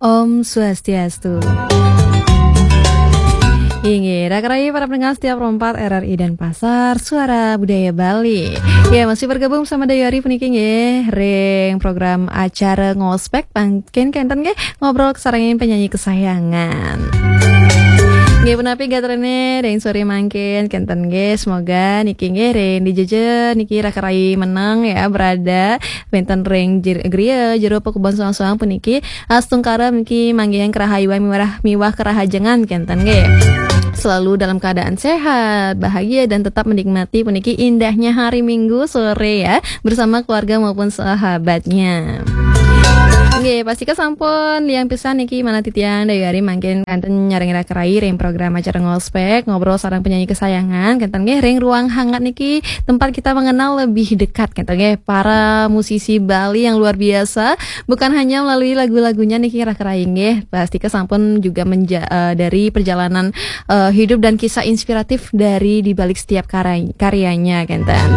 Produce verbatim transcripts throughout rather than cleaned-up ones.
Om Swastiastu. Inggih, raka rayi para pendengar setia Pro empat R R I Denpasar, Suara Budaya Bali. Ya, masih bergabung sama Dayori puniki nggih ring program acara Ngospek, mangkin kenten nggih ngobrol kasarengin penyanyi kesayangan. Nggih, punapi gatrane ring sore mangkin kenten nggih, semoga niki nggih ring dija niki raka rayi meneng ya, berada wenten ring jer-, griya jero pakubon soang-soang puniki astungkara puniki manggihang kerahayuan miwah, miwah kerahajengan kenten nggih. Selalu dalam keadaan sehat, bahagia, dan tetap menikmati puniki indahnya hari Minggu sore ya, bersama keluarga maupun sahabatnya. Nggih, pastika sampun liang pisan niki manah titiang Dayori mangkin kenten nyarengin raka rayi ring program acara Ngospek, ngobrol sareng penyanyi kesayangan, kenten nggih ring ruang hangat niki tempat kita mengenal lebih dekat kenten nggih para musisi Bali yang luar biasa, bukan hanya melalui lagu-lagunya niki raka rayi nggih, pastika sampun juga menja-, eh, dari perjalanan, eh, hidup dan kisah inspiratif dari di balik setiap karay-, karyanya kenten.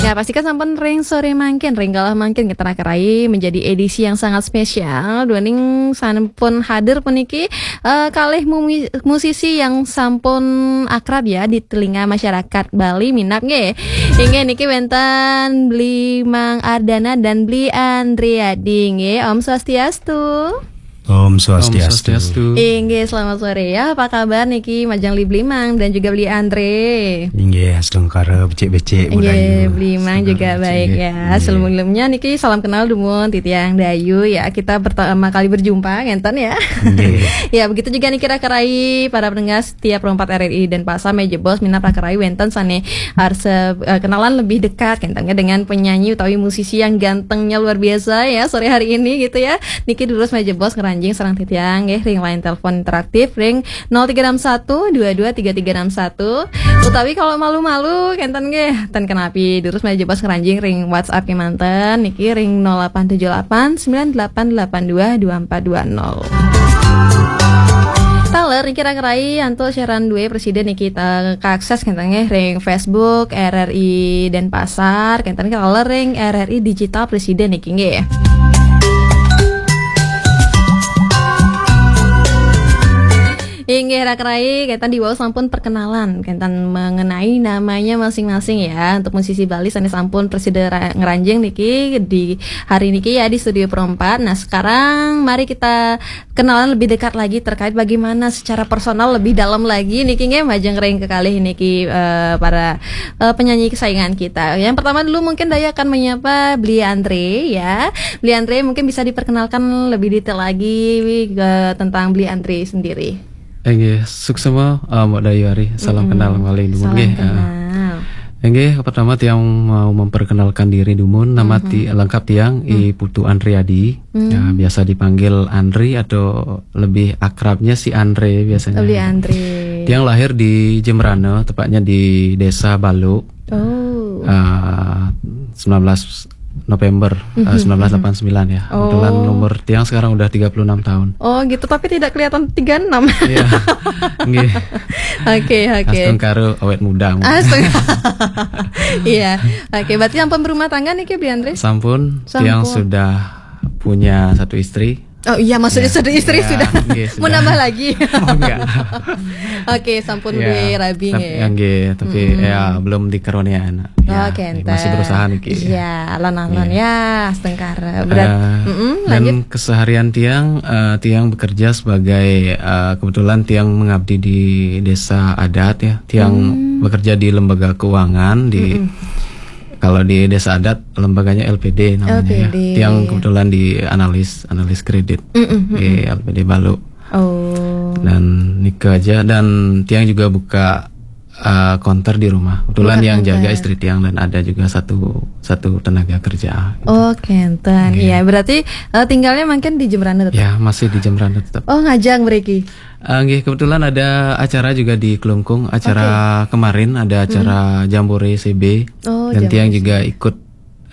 Ya, pastika sampun ring sore mangkin, ring galah mangkin kenten raka rayi menjadi edisi yang sangat spesial. Duaning sampun hadir puniki, eh, kalih mumi-, musisi yang sampun akrab ya di telinga masyarakat Bali minab nggih. Inggih niki wenten Bli Mang Ardana dan Bli Andriadi nggih. Om Swastiastu. Om Swastiastu. Inggih, selamat sore ya. Apa kabar niki majeng Bli Mang dan juga Bli Andre? Inggih, astungkara becik-becik. Inggih, Bli Mang juga baik ya. Sebelumnya niki salam kenal dumun titiang Dayu ya. Kita pertama kali berjumpa ngenten ya. Inggih. Ya, begitu juga niki raka rayi para pendengar setia Pro empat R R I Denpasar, mejebos minab raka rayi wenten sane arsa, eh, kenalan lebih dekat kenten dengan penyanyi utawi musisi yang gantengnya luar biasa ya sore hari ini gitu ya. Niki durus mejebos ngranjing sareng titiang nggih ring line telepon interaktif ring nol tiga enam satu dua dua tiga tiga enam satu. Utawi kalau malu-malu kenten nggih, ten kenapi durus mejebos ngranjing ring WhatsApp kemanten niki ring nol delapan tujuh delapan sembilan delapan delapan dua dua empat dua nol. Taler niki raka rayi antuk siaran due presiden niki ta-, kaakses kenten nggih ring Facebook R R I Denpasar, kenten nggih taler ring R R I Digital Presiden niki nggih. Inggih raka rayi, kenten diwau sampun perkenalan kenten mengenai namanya masing-masing ya. Untuk musisi Bali sane sampun prasida ra-, ngranjing niki di hari niki ya di Studio Pro empat. Nah, sekarang mari kita kenalan lebih dekat lagi terkait bagaimana secara personal lebih dalam lagi niki nggih majeng ring kekalih niki, eh, para, eh, penyanyi kesayangan kita. Yang pertama dulu mungkin Dayu akan menyapa Bli Andre ya. Bli Andre mungkin bisa diperkenalkan lebih detail lagi, eh, tentang Bli Andre sendiri. Inggih, suksma, eh, Mbok Dayu Ari. Salam kenal malih dumun nggih. Salam kenal. Inggih, pertama tiang mau memperkenalkan diri dumun, nama ti-, lengkap tiang I Putu Andriadi. Ya, biasa dipanggil Andri atau lebih akrabnya si Andre biasanya. Lebih Andre. Tiang lahir di Jembrana, tepatnya di Desa Balu. Oh. Ah, sembilan belas November, eh, sembilan belas delapan sembilan ya. Kebetulan umur tiang sekarang udah tiga puluh enam tahun. Oh, gitu, tapi tidak kelihatan tiga enam. Iya. Nggih. Oke, oke. Astungkara awet muda. Astungkara. Iya. Oke, berarti sampun berumah tangga niki, Bli Andre? Sampun, tiang sudah punya satu istri. Oh iya, maksudnya sudah istri sudah. Nggih, mau nambah lagi? Oh, enggak. Oke, sampun duwe rabi nggih. Tapi ya belum dikaruniai anak. Ya, masih berusaha niki. Iya, alon-alon ya, astungkara. Berat. Eh, dan keseharian tiang, eh, tiang bekerja sebagai, eh, kebetulan tiang mengabdi di desa adat ya. Tiang bekerja di lembaga keuangan di Kalau di desa adat, lembaganya L P D namanya ya. L P D. Tiang kebetulan di analis, analis kredit di L P D Balu. Oh. Dan nika aja, dan tiang juga buka, eh, konter di rumah. Kebetulan yang jaga istri tiang dan ada juga satu, satu tenaga kerja. Oh, kenten. Iya, berarti, eh, tinggalnya mungkin di Jembrana tetap? Ya, masih di Jembrana tetap. Oh, ngajeng mriki. Eh, nggih, kebetulan ada acara juga di Klungkung. Acara kemarin ada acara Jambore C B. Oh, dan tiang juga ikut,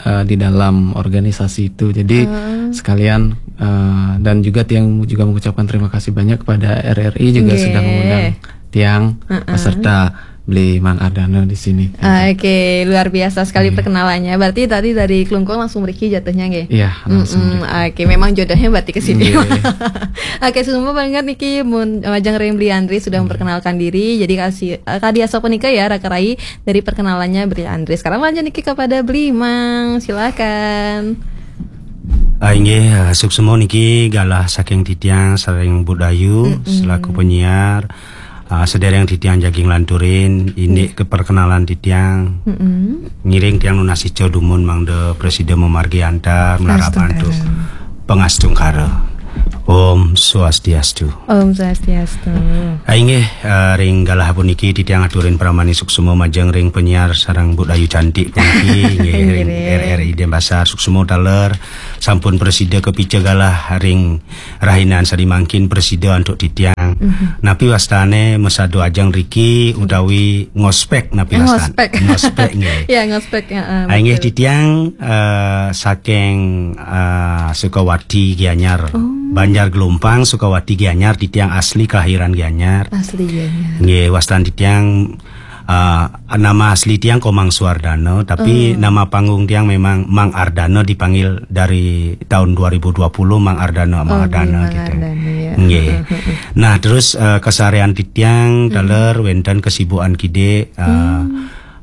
eh, di dalam organisasi itu. Jadi sekalian, eh, dan juga tiang juga mengucapkan terima kasih banyak kepada R R I juga sudah mengundang tiang beserta beli Mang Ardana di sini. Oke, luar biasa sekali perkenalannya. Berarti tadi dari Klungkung langsung mriki jatuhnya, nggih? Iya, langsung. Oke, memang jodohnya berarti ke sini. Nggih. Oke, suksma banget niki mun majeng ring Beli Andri sudah memperkenalkan diri. Jadi kasih, eh, kadi asapunika ya, raka rai dari perkenalannya Beli Andri. Sekarang lanjut niki kepada Beli Mang, silakan. Ah, inggih, ah, suksma niki galah saking titiang sareng Bu Dayu selaku penyiar. Ah, sedereng titiang jagi nglanturin indik ke perkenalan titiang. Ngiring tiang nunas ica dumun mangda prasida mamargi antar, malarapan tu pangastungkara. Om Swastiastu. Om Swastiastu. Ah, inggih, eh, ring galah puniki titiang aturin pramani suksma majeng ring penyiar sareng Bu Dayu Cantik puniki, inggih, ring R R I Denpasar, suksma taler, sampun prasida kapica galah ring rahinan sadi mangkin, prasida antuk titiang. Napi wastane masadu ajeng riki utawi ngospek napi wastane? Ngospek. Ngospek, nggih. Ya, ngospek, heeh, ah, inggih, betul. Titiang, eh, saking, eh, Sukawati Gianyar. Oh. Banjar Gelumpang, Sukawati Gianyar, titiang asli kelahiran Gianyar. Asli Gianyar. Nggih, wastan titiang, eh, nama asli tiang Komang Suardana, tapi nama panggung tiang memang Mang Ardana, dipanggil dari tahun dua ribu dua puluh Mang Ardana, Mang Ardana, Mang gitu. Ardana, ya. Nggih. Nah, terus, eh, keseharian titiang taler wenten kesibukan kidik, eh,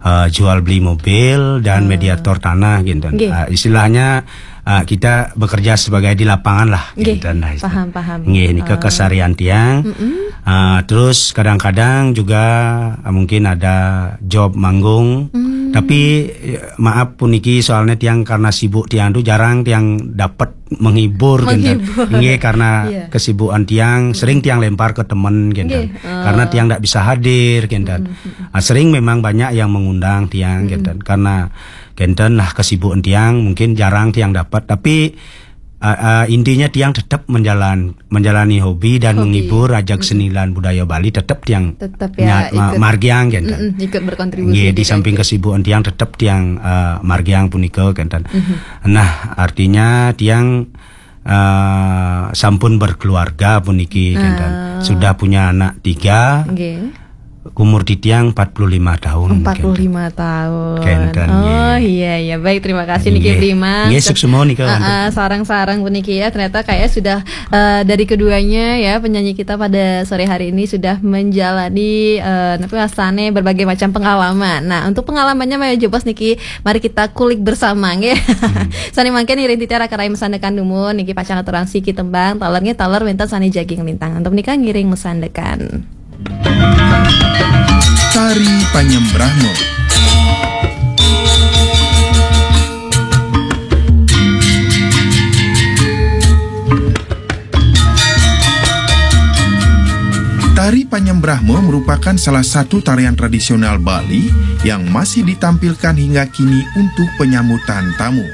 eh, jual beli mobil dan mediator tanah gitu. Nggih. Eh, istilahnya, eh, kita bekerja sebagai di lapangan lah, gitu, nah, istilah. Paham, paham. Nggih, nika keseharian tiang. Ah, terus kadang-kadang juga, ah, mungkin ada job manggung. Tapi, eh, maaf puniki, soalnya tiang karena sibuk tiang tu jarang tiang dapat menghibur, gitu. Menghibur. Nggih, karena kesibukan tiang sering tiang lempar ke temen, gitu. Nggih. Karena tiang ndak bisa hadir, gitu. Ah, sering memang banyak yang mengundang tiang, gitu. Karena kenten lah kesibukan tiang, mungkin jarang tiang dapat. Tapi, ah, ah, intinya tiang tetap menjalan menjalani hobi dan menghibur ajak seni lan budaya Bali, tetep tiang margiang, kenten. Ikut berkontribusi. Nggih, di samping kesibukan tiang tetep tiang, eh, margiang punika, kenten. Nah, artinya tiang, eh, sampun berkeluarga puniki, kenten. Sudah punya anak tiga. Nggih. Umur titiang empat puluh lima tahun. Empat puluh lima tahun. Kenten, oh, iya, iya. Baik, terima kasih niki, Bli Mang. Nggih, suksma nika, ah, sareng-sareng puniki ya. Ternyata kayak sudah, eh, dari keduanya ya, penyanyi kita pada sore hari ini sudah menjalani, eh, napa wastane, berbagai macam pengalaman. Nah, untuk pengalamannya maya jebos niki, mari kita kulik bersama, nggih. Sane mangkin ngiring titiang raka rai masandekan dumun niki, pacang aturang siki tembang, taler nggih, taler wenten sane jagi nglintang. Antuk menika ngiring masandekan. Tari Panyembrahma. Tari Panyembrahma merupakan salah satu tarian tradisional Bali yang masih ditampilkan hingga kini untuk penyambutan tamu.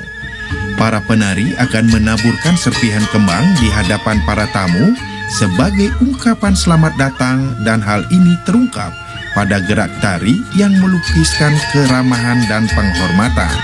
Para penari akan menaburkan serpihan kembang di hadapan para tamu sebagai ungkapan selamat datang, dan hal ini terungkap pada gerak tari yang melukiskan keramahan dan penghormatan.